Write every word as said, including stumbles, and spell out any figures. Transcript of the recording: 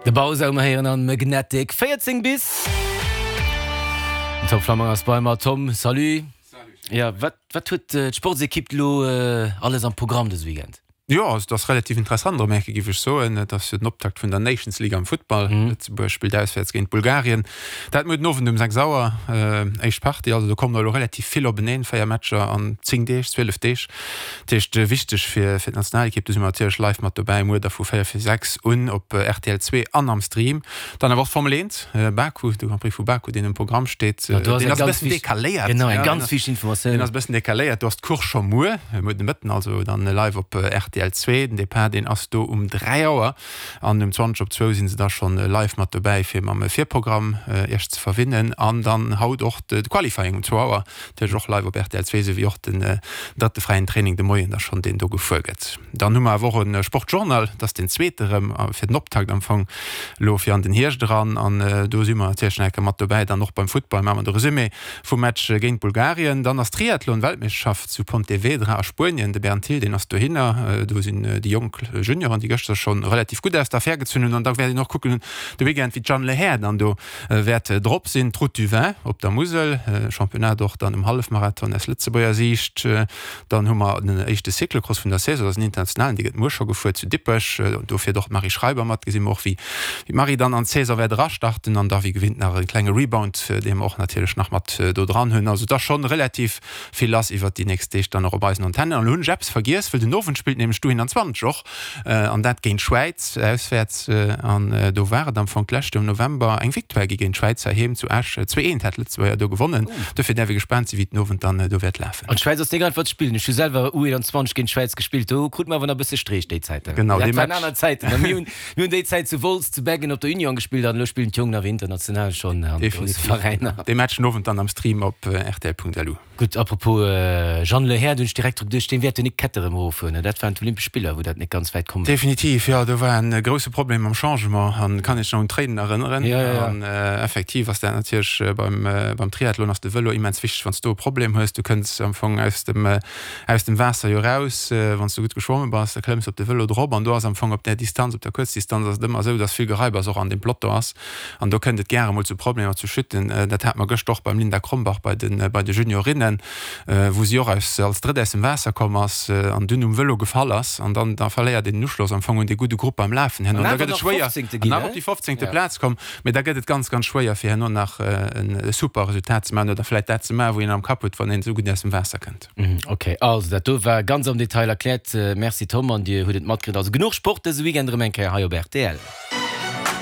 De Bausa um héieren an Magnetic véierzéng bis. Den Tom Flammang ass bei mer. Tom, salut. Ja, wat, wat huet d'Sportsekipp lo alles am Programm dëse Weekend? Jo, also et ass relativ interessant erëm eng Kéier, géif ech soen. Et ass jo den Optakt vun der Nations League am Futtball. Lëtzebuerg spillt auswäerts géint Bulgarien. Dat muer den Owend um sechs Auer. Éischt Partie. Also do kommen elo relativ vill openeen, véier Matcher an zéng Deeg, zwielef Deeg. Dat heescht, wichteg fir d'Nationalekipp, do si mer natierlech live mat dobäi, muer da vu véier vir sechs un op R T L zwee an am Stream. Dann awer och d'Formel eent, Baku, de Grand Prix vu Baku, deen um Programm steet. Do ass Deen eng ass e ganz bëssen wichteg, decaléiert. genau, eng Ja, ganz wichteg Informatioun. deen ass e bëssen decaléiert. Do ass d'Course scho muer, muer de Mëtten, also dann live op R T L zwee. Den Depart, deen ass do um dräi Auer an um zwanzeg op zwou si se da schonn live mat dobäi, fir mam Virprogramm Iech ze verwinnen. An dann haut och de Qualifying um zwou Auer, natierlech och live op R T L zwee, esou wéi och den drëtte fräien Training de Moien da schonn, deen do gefuer gëtt. Dann hu mer awer och e Sportjournal, dat ass deen zweete erëm fir den Optakt am Fong elo fir an den Hierscht eran. An do si mer natierlech nach eng Kéier mat dobäi. Dann och beim Futtball maache mer de Resumé vum Match géint Bulgarien. Dann ass d'Triathlon-Weltmeeschterschaft zu Pontevedra a Spuenien. De Bernd Thill, deen ass dohinner. Do sinn déi jonk Junioren, déi gëschter scho relativ gutt aus der Affär gezunn hunn. An da wäert een och kucken de Weekend, wéi d'Jeanne Lehair dann do wäert drop sinn. D'Route du Vin op der Musel, Championnat och dann um Hallefmarathon aus Lëtzebuerger Siicht. Dann hu mer den éischte Cyclocross vun der Saison, dat ass en internationalen, dee gëtt muer scho gefuer zu Dippech. Do fiert och d'Marie Schreiber mat. Gesi mer och, wéi d'Marie dann an d'Saison wäert erastarten. An da wéi gewinnt nach e klenge Rebound, dee mer och natierlech nach mat do dran hunn. Also et ass schonn relativ vill lass iwwert déi nächst Deeg dann och op eisen Antennen. An elo hunn ech eppes vergiess, wëll den Owend spillt nämlech d'U einundzwanzeg och, an dat géint d'Schwäiz auswäerts. An do war et am Fong d'lescht Joer am November eng Victoire gi géint d'Schwäiz heiheem zu Esch. Zwee eent hat d'Lëtzebuerger do gewonnen. Dofir däerf ee gespaant sinn, wéi den Owend dann do wäert lafen. An d'Schwäiz ass net einfach ze spillen. Ech hu selwer U einundzwanzeg géint d'Schwäiz gespillt, do krute mer awer nach e bësse Streech déi Zäiten. Genau, Dat dee waren Match. aner Zäiten. A mir hunn, mir hunn déi Zäit zu Wolz, zu Beggen op der Union gespillt an elo spillen d'Jongen awer international schonn an grousse Definitiv. Veräiner. Dee Match den Owend dann am Stream op R T L Punkt L U. Gutt, apropos Jeanne Lehair, do hunn ech direkt dru geduecht, dee wäert jo nik Kette erëm eroffueren, ne? Dat waren d'Olympesch Spiller, wou dat nik ganz wäit komm war. Definitiv, jo, do war en grousse Problem mam Changement an kann ech nach un d'Tréinen erënneren. Ja, ja, ja. An effektiv ass dat natierlech beim, beim Triathlon ass de Vëlo immens wichteg, wann s du e Problem hues, du kënns am Fong aus dem, aus dem Waasser jo raus, wann s du gutt geschwomme bass, da klëmms op de Vëlo drop an do ass am Fong op där Distanz, op der Kuerzdistanz ass et ëmmer esou, dass vill Gereibers och an deem Peloton ass an do kënnt et gäre mol zu Problemer, zu Chuten. Dat hat mer gëscht och beim Linda Krombach bei de, bei de Juniorinnen, wou si och aus, als Drëtt aus dem Waasser komm ass an dunn um Vëlo gefall ass an dann da verléiert een den Uschloss am Fong un dee gudde Grupp beim Lafen herno. An An da awer gëtt et nach schwéier, fofzéngte an ginn, awer ne? op déi fofzéngte Ja. Plaz komm, mee da gëtt et ganz, ganz schwéier fir herno nach e super Resultat ze maachen oder vläicht dat ze maachen, wou een am Kapp huet, wann een esou gutt aus dem Waasser kënnt. Ok, also dat do war ganz am Detail erkläert. Merci Tom, an Dir hutt et matkritt. Also genuch Sport dëse Weekend erëm eng Kéier hei op R T L.